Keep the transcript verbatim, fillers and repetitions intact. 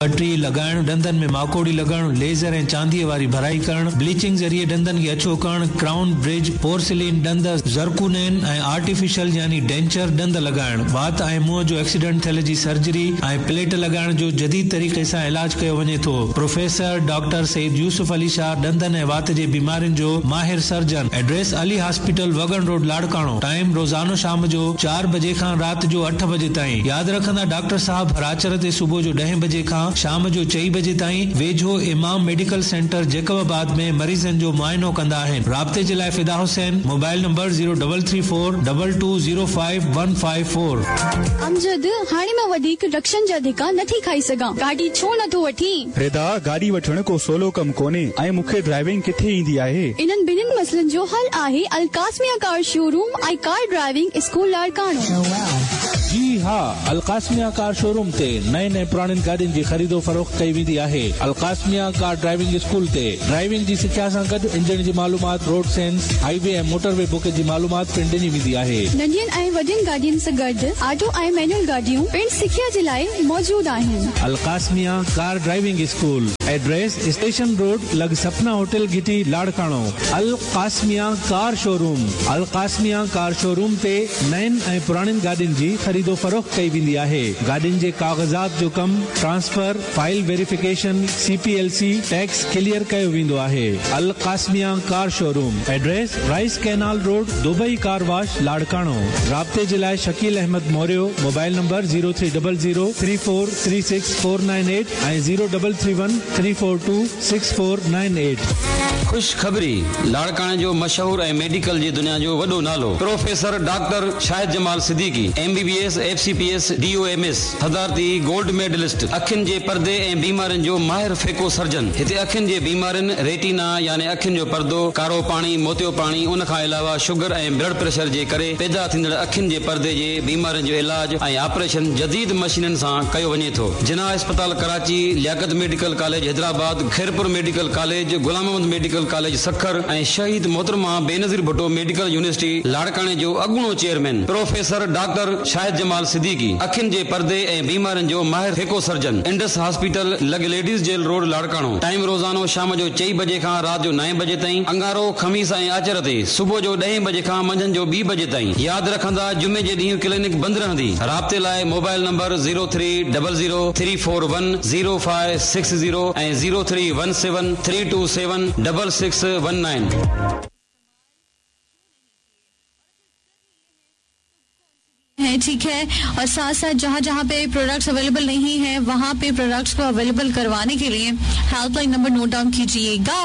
ٻه ٽي لڳائڻ، ڏندن ۾ ماڪوڙي لڳڻ، ليزر ۽ چانديء واري ڀرائي ڪرڻ، بليچنگ ذريعي ڏندن کي اڇو ڪرڻ، ڪرائون، برج، پورسلين ڏند، زرڪونين ۽ آرٽيفيشل يعني ڊينچر ڏند لڳائڻ، وات ۽ منهن جو ايڪسيڊنٽ ٿيل جي سرجري ۽ پليٽ لڳائڻ جو جديد طريقي سان علاج ڪيو وڃي ٿو. پروفيسر ڊاڪٽر سيد يوسف علي شاهه ڏندن ۽ وات جي بيمارين جو ماهر سرجن. ايڊريس علي هاسپيٽل وڳڻ روڊ لاڙڪاڻو. ٽائيم روزانو شام جو چار بجي کان رات جو اٺ بجي تائين. ياد رکندا ڊاڪٽر صاحب هر آچر تي صبح جو ڏهين بجي کان شام جو چئين بجي تائين ويجهو امام ميڊيڪل سينٽر جيڪب آباد ۾ مريضن جو معائنو ڪندا آهن. رابطي جي لاء Fida Hussain mobile number zero double three four double two zero five one five four. Amjad, هاڻي مان وڌيڪ رڪشن جا ڌڪا نٿي کائي سگهان. گاڏي ڇو نٿو وٺين؟ ردا، گاڏي وٺڻ ڪو سولو ڪم ڪونهي ۽ مون کي ڊرائيونگ ڪٿي ايندي آهي. انهن ٻنهين مسئلن جو حل آهي القاسميه ڪار شوروم ۽ ڪار ڊرائيونگ اسڪول لاڙڪاڻو. جي ها، القاسميه ڪار شوروم تي نئين ۽ پراڻين گاڏين جي خريدو فروخت ڪئي ويندي آهي. القاسميه ڪار ڊرائيونگ اسڪول تي ڊرائيونگ جي سکيا سان گڏ انجڻ جي معلومات، road sense, hi V ۽ motor V book جي معلومات پڻ ڏني ويندي آهي. ننڍين ۽ وڏين گاڏين سان گڏ آٽو ۽ مينوئل گاڏيون پڻ سکيا جي لاءِ موجود آهن. القاسميه car driving school, address station road لڳ سپنا هوٽل گهٽي لاڙڪاڻو. القاسميه ڪار شوروم، القاسميه ڪار شوروم تي نئين ۽ پراڻين گاڏين جي خريدو فروخت ڪئي ويندي آهي. گاڏين جي ڪاغذات جو ڪم، transfer, file verification, C P L C, tax clear ڪيو ويندو آهي. القاسميه car showroom, address rice canal road, Dubai car wash, Larkana. رابطي جي لاءِ Shakeel Ahmed Morio, mobile number zero three double zero three four three six four nine eight ۽ zero double three one three four two six four nine eight. خوشخبري، لاڙڪاڻي جو مشهور ۽ medical جي دنيا جو وڏو نالو professor doctor Shahid Jamal Siddiqui, M B B S, F C P S, D O M S, صدارتي گولڊ ميڊلسٽ، اکين جي پردي ۽ بيمارين جو ماهر فيڪو سرجن. هتي اکين جي بيمارين، ريٽينا يعني اکين جو پردو، ڪارو پاڻي، موتيو پاڻي، ان کان علاوه شگر ۽ بلڊ پريشر جي ڪري پيدا ٿيندڙ اکين جي پردي جي بيمارين جو علاج ۽ آپريشن جديد مشينن سان ڪيو وڃي ٿو. جناح اسپتال Karachi, Liaquat medical college Hyderabad, Khairpur medical college, Ghulam Muhammad medical college Sukkur ۽ Shaheed محترمه بينظير ڀٽو ميڊيڪل يونيورسٽي لاڙڪاڻي جو اڳوڻو چيئرمين پروفيسر ڊاڪٽر شاهد جمال صديقي، اکين جي پردي ۽ بيمارين جو ماهر فيڪو سرجن، انڊس هاسپيٽل لڳ ladies jail road Larkana. Time روزانو شام جو چئين بجي کان رات جو نائين بجي تائين، اڱارو، خميس ۽ آچر تي صبح جو ڏهين بجي کان منجهند جو ٻي بجي تائين. ياد رکندا، جمعي جي ڏينهن ڪلينڪ بند رهندي. رابطي لاءِ mobile number zero three double zero three four one zero five six zero ۽ zero three one seven three two seven double six one nine. है, ठीक है, और साथ साथ जहाँ जहाँ पे प्रोडक्ट्स अवेलेबल नहीं है, वहाँ पे प्रोडक्ट्स को अवेलेबल करवाने के लिए हेल्पलाइन नंबर नोट डाउन कीजिएगा।